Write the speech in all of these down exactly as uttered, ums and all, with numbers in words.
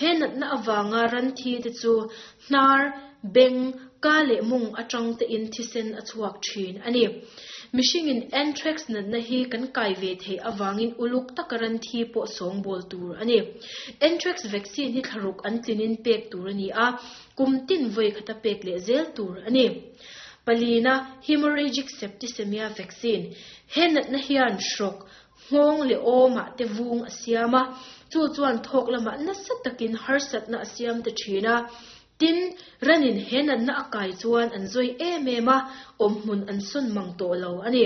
He natna awanga ran thi te chu hnar beng ka le mung atang te in thisen a chuak thin ani. Mihringin anthrax natna hi kan kai ve thei awangin uluk takaran thi pawh sawng bol tur ani. Anthrax vaccine hi thlaruk an tlinin pek tur ani a, kum tin voi khata pek le zel tur ani. Palina hemorrhagic septicemia vaccine. He natna hian shrok ngong le oma te vung asiama chu chuan thok lama na sa takin harsat na asiam te thina. Tin ranin henan na akai chuan an zoi em em a, om hmun an sun mang to lo ani.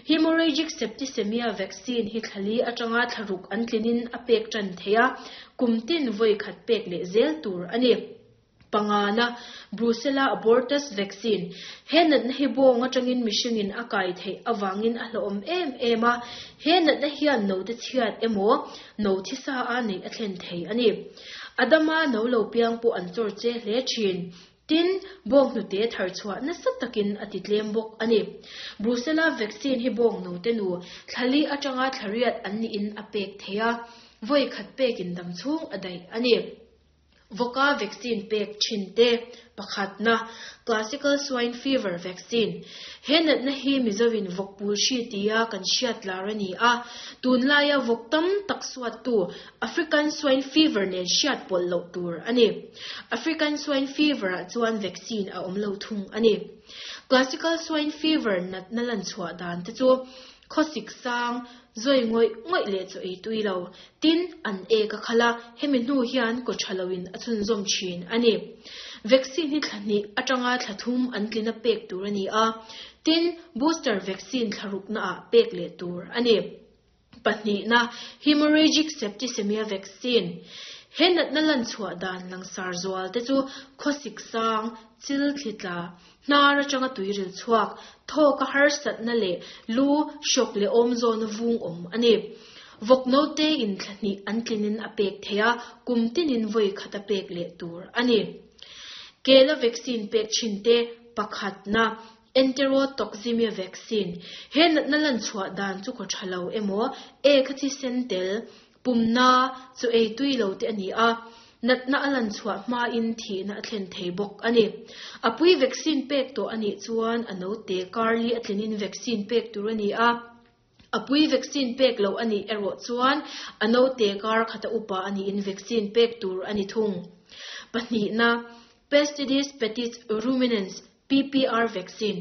Hemorrhagic septicemia vaccine hi thlali atanga thlaruk an tlinin a pek tran theia, kumtin voi khat pek le zel tur ani. Pangana Brucella abortus vaccine. Henan na hi bong atangin mihringin akai thei awangin a hlawm em em a, henan na hian no te chhiat emo no thi sa a nei a thlen thei ani. Adama no lo piang pu an chor che hle thin. Tin bong nu te thar chhuwa na sat takin ati tlem bok ani. Brucella vaccine hi bong no te nu thlali atanga thlariat an ni in a pek theia, voi khat pekin dam chung adai ani. Voka vaccine pek thin te. Pakhat na classical swine fever vaccine. Henat na hi mizawin vokpul shi tia kan hriat larani a, tun laia vok tam tak suat tu African swine fever nen hriat pol lo tur ani. African swine fever a chuan vaccine a om lo thung ani. Classical swine fever nat na lan chhuwa dan te chu khosik sang zoi ngoi ngoi le chu ei tui lo, tin an e ka khala hemi hnu hian ko thalawin a chun zom thin ani. Vaccine hi thlani atanga thlathum an tlina pek tur ani a, tin booster vaccine thlaruk na a pek le tur ani. Pahnih na hemorrhagic septicemia vaccine. Henat na lan chhuwa dan lang sar zual te chu khosik sang chil thlitla hnara changa tuiril chuak tho ka har sat na le lu shok le om zon vung om ani. Vok no te in thlani an tlinin a pek theia, kum tinin voi khata pek le tur ani. Kela vaccine pek chin te. Pakhat na enterotoxemia vaccine. Henat na lan chhuwa dan chu ko thalo emo e khathi sentel pumna chu ei tui lo te ani a, nat na alan chhuwa ma in thi na thlen thei bok ani. Apui vaccine pek to ani chuan ano te karli atlinin vaccine pek tur ani a, apui vaccine pek lo ani ero chuan ano te kar khata upa ani in vaccine pek tur ani thung. Pahnih na Pestidis petit ruminants P P R vaccine.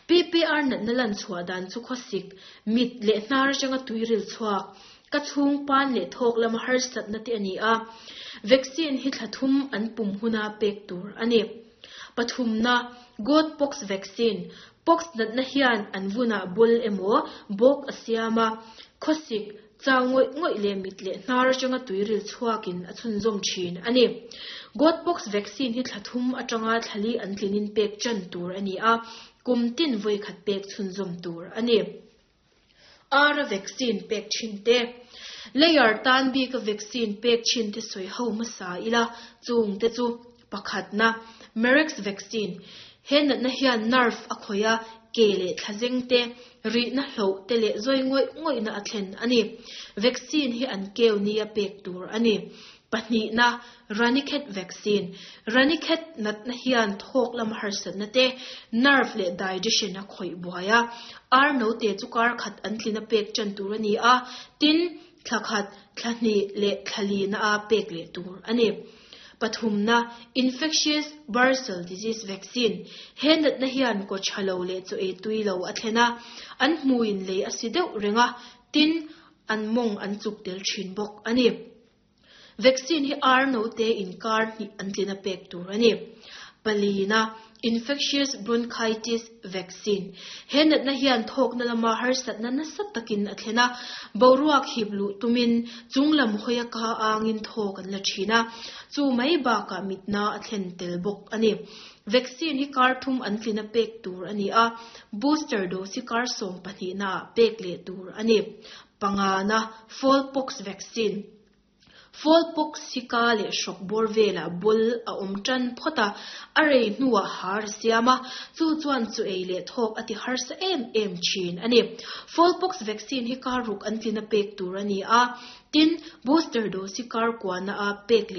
P P R nat na lan chhuwa dan chu khosik mit le hnar changa tuiril chuak ka chung pan le thok lama har sat na te ani a. Vaccine hi thlathum an pum huna pek tur ani. Pathum na goat pox vaccine. Pox nat na hian an vuna bul emo bok asiama khosik chao ngoi ngoi le mit le hnar changa tuiril chuakin a chun zom thin ani. Goat pox vaccine hi thlathum atanga thlali an tlinin pek chan tur ani a, kum tin voi khat pek chun zom tur ani. Ara vaccine pek chin te. Layer tan bi ka vaccine pek chin te soi ho ma sa ila chung te chu. Pakhat na Marek's vaccine. Hen na hian nerve a khoya ke le thlazeng te ri na hlo te le zoi ngoi ngoi na athlen ani. Vaccine hi an keu ni a pek tur ani. Pahnih na Ranikhet vaccine. Ranikhet nat na hian thok lam har sat na te nerve le digestion a khoi buaya, ar no te chu kar khat an tlina pek chan tur ani a, tin thlakhat thlani le thlali na a pek le tur ani. Pathum na infectious bursal disease vaccine. Henat na hian ko chalo le chu e tui lo a thlena, an hmuin le asi deuh renga, tin an mong an chuk tel thin bok ani. Vaccine hi ar no te in kar ni an tlina pek tur ani. Palina infectious bronchitis vaccine. Henat na hian thok na lama har sat na na sat takin a thlena, boruak hiblu tumin chunglam hoya ka angin thok an la thina, chu mai ba ka mitna a thlen tel bok ani. Vaccine hi kar thum an tlina pek tur ani a, booster dose hi kar som pahnih na pek le tur ani. Panga na smallpox vaccine. Smallpox hi ka le shok bor vela bul a om tan phota arei hnuwa har siama chu chuan chu ei le thok ati har sa em em chin ani. Smallpox vaccine hi ka ruk an tlina pek tur ani a, tin booster dose hi kar kwa na a pek le